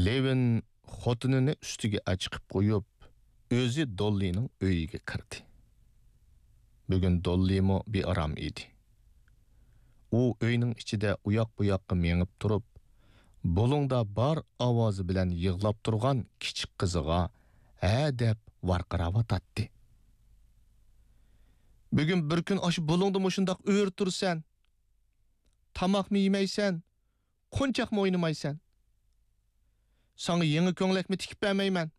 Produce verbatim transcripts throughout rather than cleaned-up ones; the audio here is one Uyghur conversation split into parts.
لېۋىن خوتۇنىنى ئۈستىگە ئەچىقىپ قويۇپ، ئۆزى دوللىنىڭ ئۆيىگە كىردى. بۈگۈن دوللىمۇ بىئارام ئىدى. ئۇ ئۆينىڭ ئىچىدە ئۇياق-بۇياققا مېڭىپ تۇرۇپ، بۇلۇڭدا بار ئاۋازى بىلەن يىغلاپ تۇرغان كىچىك قىزىغا ھە دەپ ۋارقىراۋاتاتتى. بۈگۈن بىر كۈن ئاشۇ بۇلۇڭدا مۇشۇنداق ئۆرە تۇرىسەن. تاماقمۇ يېمەيسەن، قونچاقمۇ ئوينىمايسەن. ساڭا يېڭى كۆڭلەكمۇ تىكىپ بەرمەيمەن.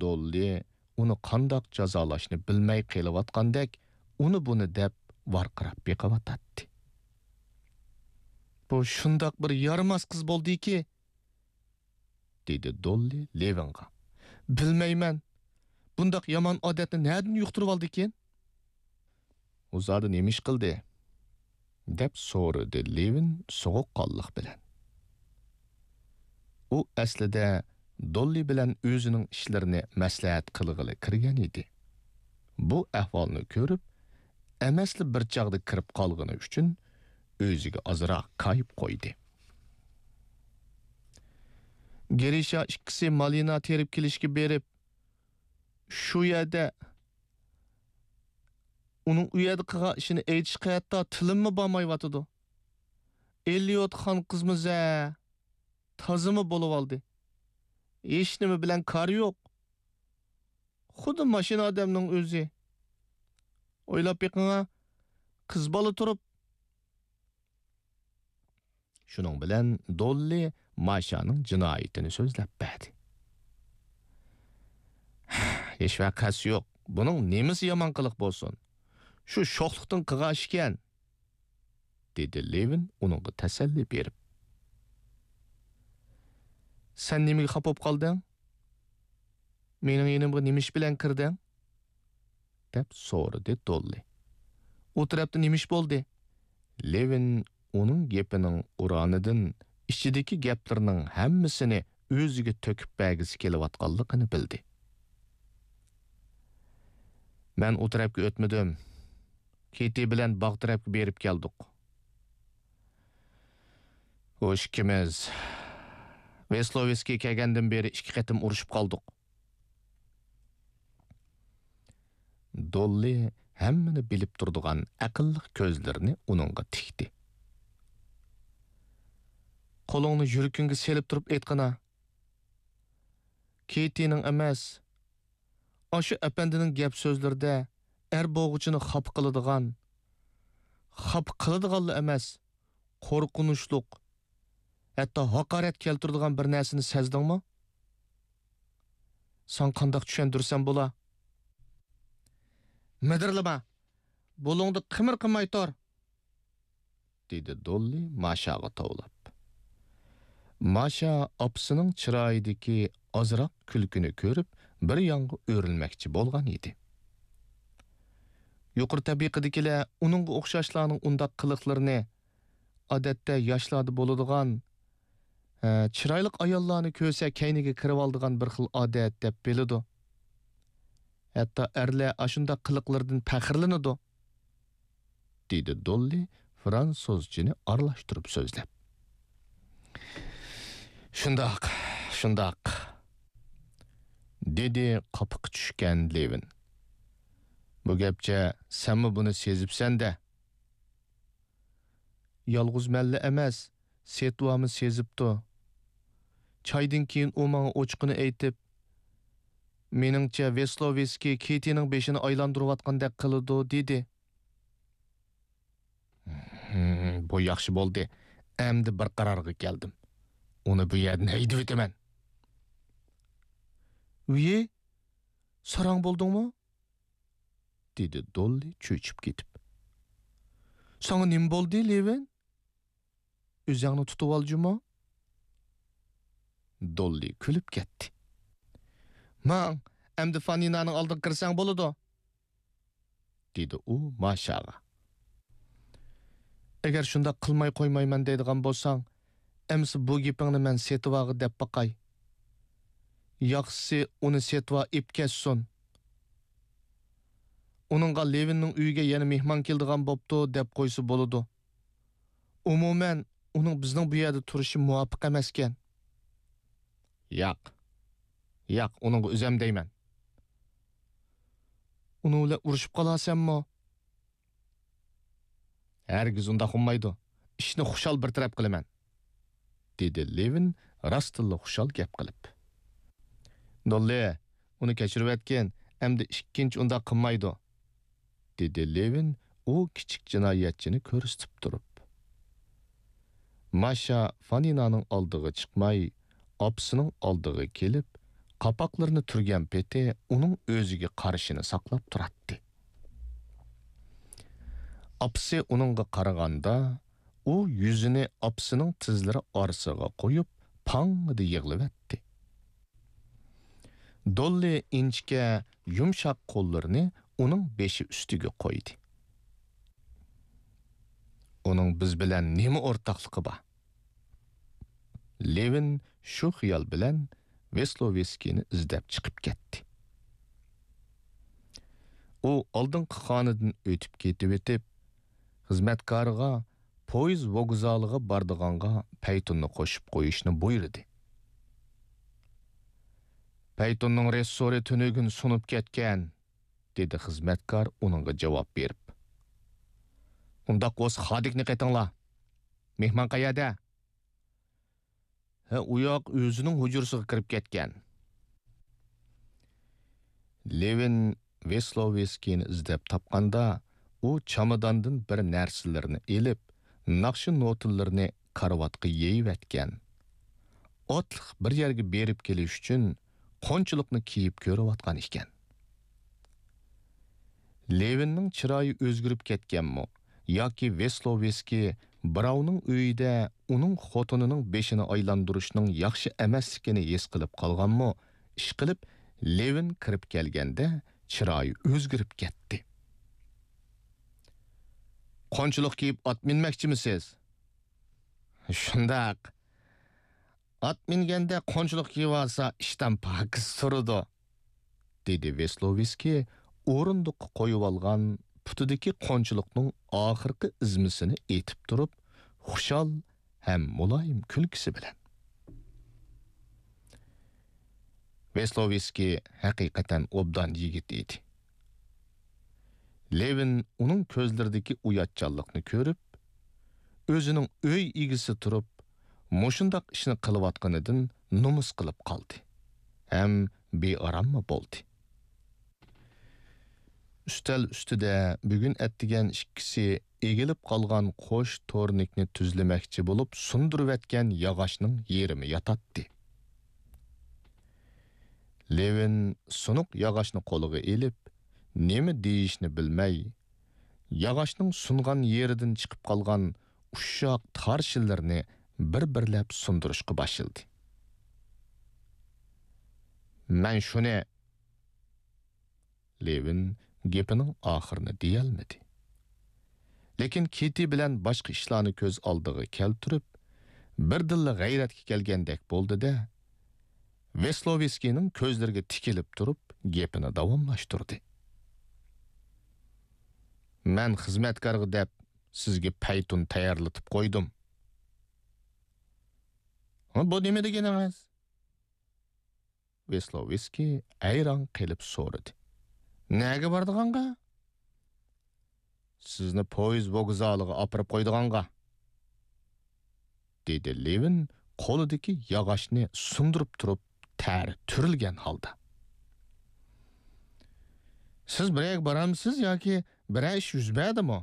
دوللى ئۇنى قانداق جازالاشنى بىلمەي قېلىۋاتقاندەك، ئۇنى-بۇنى دەپ ۋارقىراپ بېقىۋاتاتتى. بۇ شۇنداق بىر يارىماس قىز بولدىكى، دېدى دوللى لېۋىنغا. بىلمەيمەن، بۇنداق يامان ئادەتنى نەدىن يۇقتۇرۇۋالدىكىن؟ ئۇ زادى نېمە ئىش قىلدى؟ دەپ سورىدى لېۋىن سوغۇققانلىق بىلەن. ئۇ ئەسلىدە دوللى بىلەن ئۆزىنىڭ ئىشلىرىنى مەسلىھەت قىلغىلى كىرگەن ئىدى. بۇ ئەھۋالنى كۆرۈپ، ئەمەسلا بىر چاغدا كىرىپ قالغىنى ئۈچۈن ئۆزىگە ئازراق كايىپ قويدى. گىرىشا ئىككىسى مالىنا تېرىپ كېلىشكە بېرىپ، شۇ يەردە ئۇنىڭ ئۇ يەردە قىلغان ئىشىنى ئېيتىشقا ھەتتا تىلىممۇ بارمايۋاتىدۇ. ئېلىيوت خان قىزمۇ زە، تازىمۇ بولۇۋالدى. ھېچنېمە بىلەن كارى يوق. خۇددى ماشىنا ئادەمنىڭ ئۆزى. ئويلاپ بېقىڭا، قىز بالا تۇرۇپ. شۇنىڭ بىلەن دوللى ماشانىڭ جىنايىتىنى سۆزلەپ بەردى. ھېچ ۋەقەسى يوق. بۇنىڭ نېمىسى يامان قىلىق بولسۇن؟ شۇ شوخلۇقتىن قىلغان ئىشىكەن، دېدى لېۋىن ئۇنىڭغا تەسەللى بېرىپ. سەن نېمىگە خاپا بولۇپ قالدىڭ؟ مېنىڭ يېنىمغا نېمە ئىش بىلەن كىردىڭ؟ دەپ سورىدى دوللى. ئۇ تەرەپتە نېمە ئىش بولدى؟ لېۋىن ئۇنىڭ گېپىنىڭ ئۇرانىدىن ئىچىدىكى گەپلىرىنىڭ ھەممىسىنى ئۆزىگە تۆكۈپ بەرگۈسى كېلىۋاتقانلىقىنى بىلدى. مەن ئۇ تەرەپكە ئۆتمىدىم. كېتى بىلەن باغ تەرەپكە بېرىپ كەلدۇق. ئۇ ئىككىمىز ۋېسلوۋېسكىي كەلگەندىن بېرى ئىككى قېتىم ئۇرۇشۇپ قالدۇق. دوللى ھەممىنى بىلىپ تۇرىدىغان ئەقىللىق كۆزلىرىنى ئۇنىڭغا تىكتى. قولۇڭنى يۈرىكىڭگە سېلىپ تۇرۇپ ئېيتقىنا. كېتىنىڭ ئەمەس، ئاشۇ ئەپەندىنىڭ گەپ سۆزلىرىدە ئەر بوغۇچىنى خاپا قىلىدىغان، خاپا قىلىدىغانلا ئەمەس، قورقۇنچلۇق، ھەتتا ھاقارەت كەلتۈرىدىغان بىر نەرسىنى سەزدىڭمۇ؟ ساڭا قانداق چۈشەندۈرسەم بولا؟ مىدىرلىما! بۇلۇڭدا قىمىر قىلماي تۇر! دېدى دوللى ماشاغا توۋلاپ. ماشا ئاپىسىنىڭ چىرايىدىكى ئازراق كۈلكىنى كۆرۈپ، بىر يانغا ئۆرۈلمەكچى بولغان ئىدى. يۇقىرى تەبىقىدىكىلەر ئۇنىڭغا ئوخشاشلارنىڭ ئۇنداق قىلىقلىرىنى، ئادەتتە ياشلاردا بولىدىغان، ھە، چىرايلىق ئاياللارنى كۆرسە كەينىگە كىرىۋالىدىغان بىر خىل ئادەت دەپ بىلىدۇ. ھەتتا ئەرلەر ئاشۇنداق قىلىقلىرىدىن پەخىرلىنىدۇ، دېدى دوللى فرانسۇزچىنى ئارىلاشتۇرۇپ سۆزلەپ. شۇنداق، شۇنداق، دېدى قاپىقى چۈشكەن لېۋىن. بۇ گەپچە سەنمۇ بۇنى سېزىپسەن-دە. يالغۇز مەنلا ئەمەس، سېتۋامۇ سېزىپتۇ. چايدىن كېيىن ئۇ ماڭا ئوچۇقىنى ئېيتىپ، مېنىڭچە ۋېسلوۋېسكىي كېتىنىڭ بېشىنى ئايلاندۇرۇۋاتقاندەك قىلىدۇ، دېدى. ھىم، بۇ ياخشى بولدى. ئەمدى بىر قارارغا كەلدىم. ئۇنى بۇ يەردىن ھەيدىۋېتىمەن. ۋىي، ساراڭ بولدۇڭمۇ؟ دېدى دوللى چۆچۈپ كېتىپ. ساڭا نېمە بولدى، لېۋىن؟ ئۆزۈڭنى تۇتۇۋال جۇمۇ. دوللى كۈلۈپ كەتتى. ماڭ، ئەمدى فانىنانىڭ ئالدىغا كىرسەڭ بولىدۇ، دېدى ئۇ ماشاغا. ئەگەر شۇنداق قىلماي قويمايمەن دەيدىغان بولساڭ، ئەمىسە بۇ گېپىڭنى مەن سېتىۋاغا دەپ باقاي. ياخشىسى ئۇنى سېتىۋا ئېپ كەتسۇن. ئۇنىڭغا لېۋىننىڭ ئۆيىگە يەنە مېھمان كېلىدىغان بوپتۇ دەپ قويسا بولىدۇ. ئومۇمەن، ئۇنىڭ بىزنىڭ بۇ يەردە تۇرۇشى مۇۋاپىق ئەمەسكەن. ياق. ياق، ئۇنىڭغا ئۆزەم دەيمەن. ئۇنىڭ بىلەن ئۇرۇشۇپ قالارسەنمۇ؟ ھەرگىز ئۇنداق بولمايدۇ. ئىشنى خۇشال بىر تەرەپ قىلىمەن، دېدى لېۋىن راستتىنلا خۇشال گەپ قىلىپ. دوللى، ئۇنى كەچۈرۈۋەتكىن، ئەمدى ئىككىنچى ئۇنداق قىلمايدۇ، دېدى لېۋىن ئۇ كىچىك جىنايەتچىنى كۆرسىتىپ تۇرۇپ. ماشا فانىنانىڭ ئالدىغا چىقماي، ئاپىسىنىڭ ئالدىغا كېلىپ، قاپاقلىرىنى تۈرگەن پېتى ئۇنىڭ ئۆزىگە قارىشىنى ساقلاپ تۇراتتى. ئاپىسى ئۇنىڭغا قارىغاندا، ئۇ يۈزىنى ئاپىسىنىڭ تىزلىرى ئارىسىغا قويۇپ، پاڭڭىدە يىغلىۋەتتى. دوللى ئىنچىكە، يۇمشاق قوللىرىنى ئۇنىڭ بېشى ئۈستىگە قويدى. ئۇنىڭ بىز بىلەن نېمە ئورتاقلىقى بار؟ لېۋىن شۇ خىيال بىلەن ۋېسلوۋېسكىينى ئىزدەپ چىقىپ كەتتى. ئۇ ئالدىنقى خانىدىن ئۆتۈپ كېتىۋېتىپ، خىزمەتكارىغا پويىز ۋوگزالىغا بارىدىغانغا پەيتۇننى قوشۇپ قويۇشنى بۇيرۇدى. پەيتۇننىڭ رېسسورى تۈنۈگۈن سۇنۇپ كەتكەن، دېدى خىزمەتكار ئۇنىڭغا جاۋاب بېرىپ. ئۇنداق بولسا خادىكنى قېتىڭلار. مېھمان قەيەردە؟ ھە، ئۇ ياق ئۆزىنىڭ ھۇجرىسىغا كىرىپ كەتكەن. لېۋىن ۋېسلوۋېسكىينى ئىزدەپ تاپقاندا، ئۇ چاماداندىن بىر نەرسىلىرىنى ئېلىپ، ناخشا نوتىلىرىنى كارىۋاتقا يېيىۋەتكەن. ئاتلىق بىر يەرگە بېرىپ كېلىش ئۈچۈن قونچىلىقنى كىيىپ كۆرۈۋاتقان ئىكەن. لېۋىننىڭ چىرايى ئۆزگىرىپ كەتكەنمۇ ياكى ۋېسلوۋېسكىي بىراۋنىڭ ئۆيىدە ئۇنىڭ خوتۇنىنىڭ بېشىنى ئايلاندۇرۇشنىڭ ياخشى ئەمەسلىكىنى ھېس قىلىپ قالغانمۇ، ئىشقىلىپ، لېۋىن كىرىپ كەلگەندە چىرايى ئۆزگىرىپ كەتتى. قونچىلىق كىيىپ ئات مىنمەكچىمىسىز؟ شۇنداق. ئات مىنگەندە قونچىلىق كىيىۋالسا، ئىشتان پاكىز تۇرىدۇ، دېدى ۋېسلوۋېسكىي ئورۇندۇققا قويۇۋالغان پۇتىدىكى قونچىلىقنىڭ ئاخىرقى ئۈزمىسىنى ئېتىپ تۇرۇپ، خۇشال ھەم مۇلايىم كۈلكىسى بىلەن. ۋېسلوۋېسكىي ھەقىقەتەن ئوبدان يىگىت ئىدى. لېۋىن ئۇنىڭ كۆزلىرىدىكى ئۇياتچانلىقنى كۆرۈپ، ئۆزىنىڭ ئۆي ئىگىسى تۇرۇپ، مۇشۇنداق ئىشنى قىلىۋاتقىنىدىن نومۇس قىلىپ قالدى ھەم بىئاراممۇ بولدى. ئۈستەل ئۈستىدە بۈگۈن ئەتىگەن ئىككىسى ئېگىلىپ قالغان قوش تورنىكنى تۈزلىمەكچى بولۇپ سۇندۇرۇۋەتكەن ياغاچنىڭ يېرىمى ياتاتتى. لېۋىن سۇنۇق ياغاچنى قولىغا ئېلىپ، نېمە دېيىشنى بىلمەي، ياغاچنىڭ سۇنغان يېرىدىن چىقىپ قالغان ئۇششاق تارشىلىرىنى بىر-بىرلەپ سۇندۇرۇشقا باشلىدى. مەن شۇنى، لېۋىن گېپىنىڭ ئاخىرىنى دېيەلمىدى. لېكىن كىتى بىلەن باشقا ئىشلارنى كۆز ئالدىغا كەلتۈرۈپ، بىردىنلا غەيرەتكە كەلگەندەك بولدى-دە، ۋېسلوۋېسكىينىڭ كۆزلىرىگە تىكىلىپ تۇرۇپ گېپىنى داۋاملاشتۇردى. مەن خىزمەتكارغا دەپ سىزگە پەيتۇن تەييارلىتىپ قويدۇم. ھە، بۇ نېمە دېگىنىڭىز؟ ۋېسلوۋېسكىي ھەيران قېلىپ سورىدى. نەگە بارىدىغانغا؟ سىزنى پويىز ۋوگزالىغا ئاپىرىپ قويىدىغانغا، دېدى لېۋىن قولىدىكى ياغاچنى سۇندۇرۇپ تۇرۇپ تەر تۈرۈلگەن ھالدا. سىز بىر يەرگە بارامسىز ياكى بىرەر ئىش يۈز بەردىمۇ؟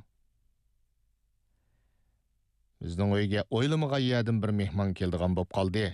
بىزنىڭ ئۆيگە ئويلىمىغان يەردىن بىر مېھمان كېلىدىغان بولۇپ قالدى.